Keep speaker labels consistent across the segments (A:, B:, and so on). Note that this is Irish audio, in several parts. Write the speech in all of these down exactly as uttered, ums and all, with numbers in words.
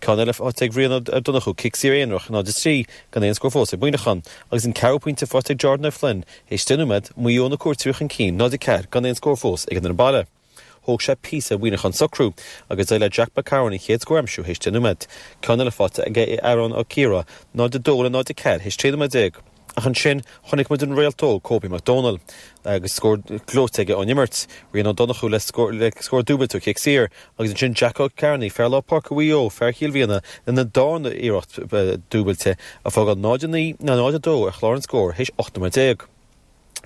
A: Ceann eile faighte ag Rian Ó Donnchú, cic saor aonarach, náid a trí, gan aon scór fós ag Muineachán, agus an ceathrú pointe faighte ag Jordan O'Flynn théis deich nóiméad, Maigh Eo na cuairteoirí chun cinn, náid a ceathair, gan aon scór fós ag an fhoireann baile. Thóg sé píosa ar Mhuineachán socrú, agus d'éirigh le Jack McCarron an chéad scór a aimsiú théis deich nóiméad. Ceann eile faighte ag Aaron Ó Ciardha, náid a dó le náid a ceathair théis trí nóiméad déag. Ach ansin, chonaic muid an réalt óg Kobe McDonald agus scór gleoite aige ón imirt, Rian Ó Donnchú le scór le scór dúbailte ó chic saor, agus ansin Jack Ó Cearnaigh, fear lár páirce Mhaigh Eo, fear Chill Mhianna, lena darna iarracht dúbailte, ag fágáil náid a naoi le náid a dó ar chlár an scóir théis ocht nóiméad déag.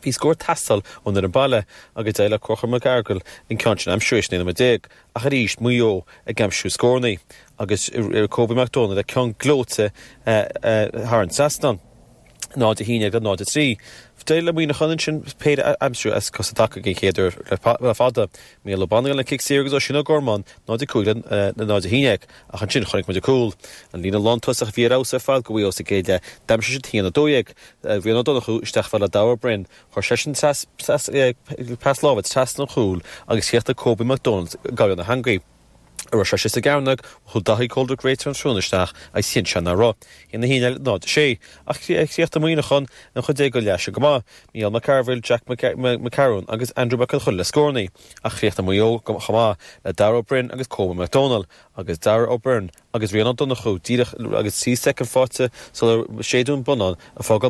A: Bhí scór ag teastáil ón fhoireann baile agus d'éirigh le Conchúr Mac Fhearghail an ceann sin a aimsiú théis naoi nóiméad déag, ach arís Maigh Eo ag aimsiú scóranna agus Kobe McDonald le ceann gleoite thar an trasnán. náid a haon déag le náid a trí. D'éirigh le Muineachán ansin péire a aimsiú as cosa taca den chéad uair le fada. Mícheál Ó Bannagáin le cic saor agus Oisín Ó Gormáin, náid a cúig le náid a haon déag. Ach ansin chonaic muid an cúl. An líne lántosach a bhí ar fheabhas ar fad do Mhaigh Eo sa gcéad leath, d'aimsigh siad haon a dó dhéag. Rian Ó Donnchú isteach fhad le Darragh Ó Broin. Chuir seisean pas láimhe trasna an chúil agus chríochnaigh Kobe McDonald i gcaighdeán na heangaí. A raibh sé sa gcearnóg, chuir Daithí Coldrick réiteoir an tráthnóna isteach agus chinn sé nach raibh. Haon a haon déag le náid a sé. Ach chríochnaigh Muineachán an chuid eile den leath seo go maith. Mícheál Mac Cearbhaill, Jack McCarron agus Andrew Mac Con Choille le scóranna. Ach chríochnaigh Maigh Eo chomh maith le Darragh Ó Broin agus Kobe McDonald agus Darragh Ó Byrne agus Rian Ó Donnchú díreach agus trí soicind faighte sular séideadh an bonnán ag fágáil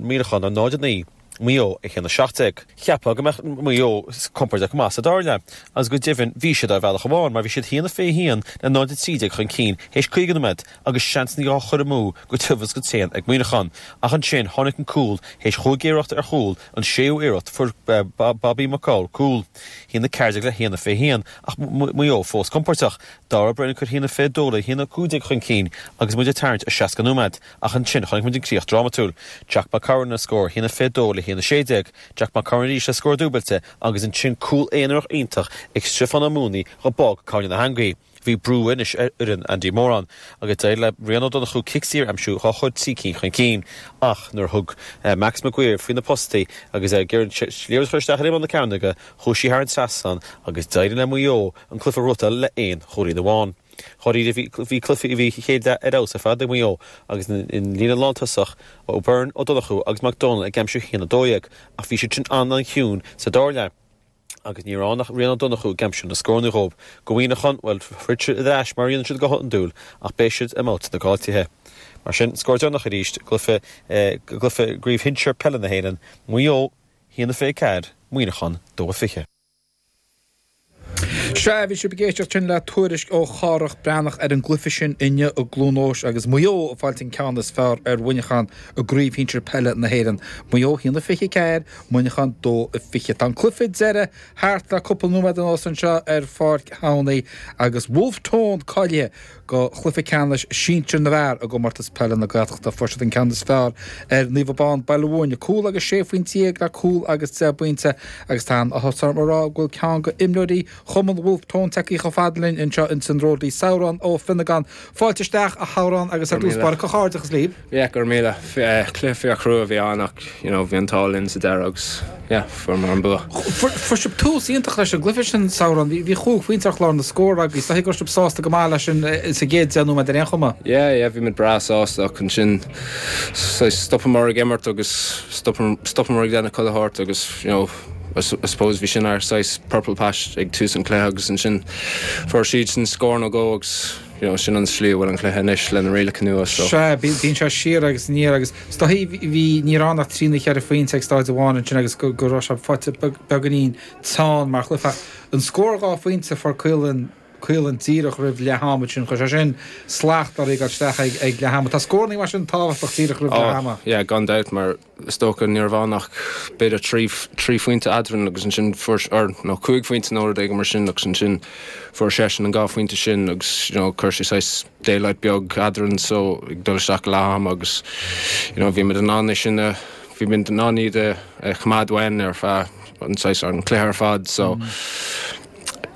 A: Muineachán ar náid a naoi. Maigh Eo a haon a seacht déag. Cheapfá go mbeadh Maigh Eo compordach go maith sa dara leath, agus go deimhin bhí siad ar bhealach amháin mar bhí siad haon a fiche haon le náid a trí déag chun cinn théis caoga nóiméad agus seansanna á chur amú go tiubh agus go tréan ag Muineachán. Ach ansin tháinig an cúl théis chúig iarracht ar chúl, an séú iarracht fuair Bobby McCall cúl. Haon a ceathair déag le haon a fiche haon ach Maigh Eo fós compordach. Darragh Ó Broin ag cur haon a fiche dó le haon a cúig déag chun cinn agus muid ag tarraingt ar seasca nóiméad. Ach ansin chonaic muid an críoch drámatúil. Jack McCarron le scór haon a fiche dó le haon a sé déag. Jack McCarron arís le scór dúbailte agus ansin cúl aonarach iontach ag Stiofán Ó Mooney dhá bpág cúinne na heangaí. Bhí brú anois ar fhoireann Andy Moran agus d'éirigh le Rian Ó Donnchú cic saor a aimsiú dhá chur trí cinn chun cinn. Ach nuair a thug Max Maguire faoi na postaí agus é ag iarraidh an liathróid a chur isteach ar imeall na cearnóige, chuaigh sí thar an trasnán agus d'éirigh le Maigh Eo an cluiche a ghnóthachtáil le aon chúilín amháin. Dháiríre bhí bhí cluiche bhí chéad leath ar fheabhas ar fad ag Maigh Eo agus an líne lántosach Ó Byrne, Ó Donnchú agus McDonald ag aimsiú haon a dó dhéag ach bhí siad sin an-an-chiúin sa dara leath agus ní raibh ach Rian Ó Donnchú ag aimsiú na scóranna dhóibh. Do Mhuineachán, bhuel throid siad ar ais mar a dhéanann siad go hiondúil ach beidh siad i mbabhta na gcaillteacha. Mar sin, scór deireanach arís i gcluiche gcluiche i gCraobh Shinsir Peile na hÉireann, Maigh Eo, haon a fiche ceathair, Muineachán, dó a fiche.
B: Sea, bhí sibh ag éisteacht sin le tuairisc ó Chárthach Breathnach ar an gcluiche sin inniu i gCluain Eois agus Maigh Eo ag fáilt an ceann is fearr ar Mhuineachán i gCraobh Shinsir Peile na hÉireann. Maigh Eo haon a fiche ceathair, Muineachán dó a fiche. Tá an cluiche deiridh thart le cúpla nóiméad anuas anseo ar Pháirc Thamhnaigh agus Wolfe Tone cáilithe go chluiche ceannais sinsir na bhfear i gcomórtas peile na Gaeltachta. Fuair siad an ceann is fearr ar Naomh Abán Baile Mhúirne, cúl agus sé phointe déag le cúl agus deich bpointe agus tá an-áthas orm a rá go bhfuil ceann go imreoirí Chumann Wolfe Tone tagtha chomh fada linn anseo ins an Ródaí Sabhrán Ó Fionnagáin. Fáilte isteach a Shabhráin agus ar dtús báire comhghairdeachas libh.
C: Yeah, go raibh míle. Cluiche fíorchrua a bhí ann ach you know, bhí an t-ádh linn sa deireadh agus yeah, fuaireamar an bua.
B: Fuair sibh tús iontach leis an gcluiche sin Sabhrán, bhí chúig phointe ar chlár na scór agus tá go raibh sibh sásta go maith leis sin sa gcéad deich nóiméad ar aon chuma.
C: Yeah, yeah, bhí muid breá sásta ach ansin stopamar ag imirt agus stopamar ag déanamh chuile shórt agus you know, I suppose bhí sin ár saghas purple patch ag tús an chluiche agus ansin fuair siad sin scór nó dhó agus you know, sin an slí a bhfuil an cluiche anois le na rialacha nua so.
B: Sea, bíonn sé siar agus aniar agus stothaí bhí ní raibh ach trí nó ceithre phointe ag staid amháin ansin agus go raibh sé faighte beagáinín teann mar chluiche. An scór dhá phointe fuair Caolan Caolan díreach roimh leath ama sin chuir sé sin slacht ar ag isteach ag ag leath ama. Tá scóranna mar sin tábhachtach díreach roimh leath ama.
C: Yeah, gan dabht mar is dócha ní raibh ann ach b'fhéidir trí trí phointe eadrainn agus ansin fuair or nó cúig phointe nó rud éigin mar sin agus ansin fuair seisean an dhá phointe sin agus you know, chuir sé saghas daylight beag eadrainn so ag dul isteach leath ama agus you know, bhí muid in ann é sin a bhí muid in ann iad a choimeád uainn ar feadh an saghas an cluiche ar fad so mm.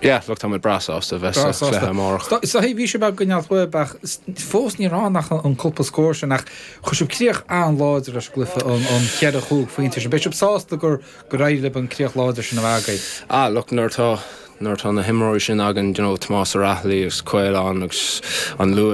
C: Yeah, look tá breá sásta bheith sa chluiche amárach.
B: So bhí sé beag gneall ach fós ní raibh ach an cúpla scór sin ach chuir sibh críoch an-láidir leis an gcluiche an an cheithre chúig phointe sin. Beidh sibh sásta gur gur éirigh libh an críoch láidir sin a bheith agaibh.
C: Ah, look nuair tá nuair tá na himreoirí sin againn, you know, Tomás Ó Raghallaigh agus Caolán agus an luas